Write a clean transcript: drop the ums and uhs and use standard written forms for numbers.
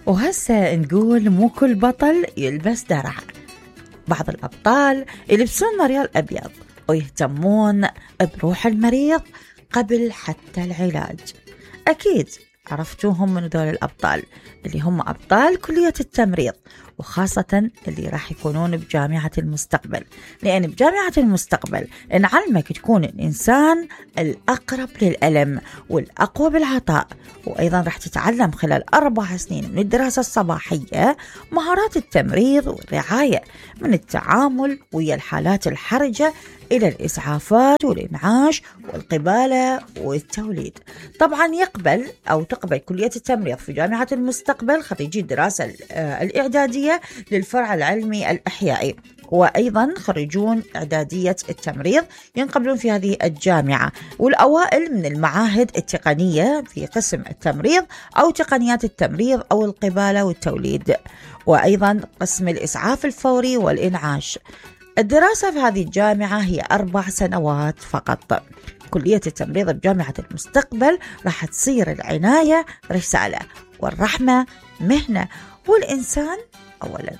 وهسه نقول مو كل بطل يلبس درع. بعض الأبطال يلبسون مريال أبيض ويهتمون بروح المريض قبل حتى العلاج. أكيد عرفتوهم من دول الأبطال اللي هم أبطال كلية التمريض، وخاصة اللي راح يكونون بجامعة المستقبل، لأن بجامعة المستقبل نعلمك تكون الإنسان الأقرب للألم والأقوى بالعطاء، وأيضا راح تتعلم خلال 4 سنين من الدراسة الصباحية مهارات التمريض والرعاية، من التعامل ويا الحالات الحرجة إلى الإسعافات والإنعاش والقبالة والتوليد. طبعا تقبل كلية التمريض في جامعة المستقبل خريجي الدراسة الإعدادية للفرع العلمي الإحيائي، وأيضا خريجون إعدادية التمريض ينقبلون في هذه الجامعة، والأوائل من المعاهد التقنية في قسم التمريض أو تقنيات التمريض أو القبالة والتوليد، وأيضا قسم الإسعاف الفوري والإنعاش. الدراسة في هذه الجامعة هي 4 سنوات فقط. كلية التمريض بجامعة المستقبل راح تصير العناية رسالة والرحمة مهنة، والإنسان أولاً.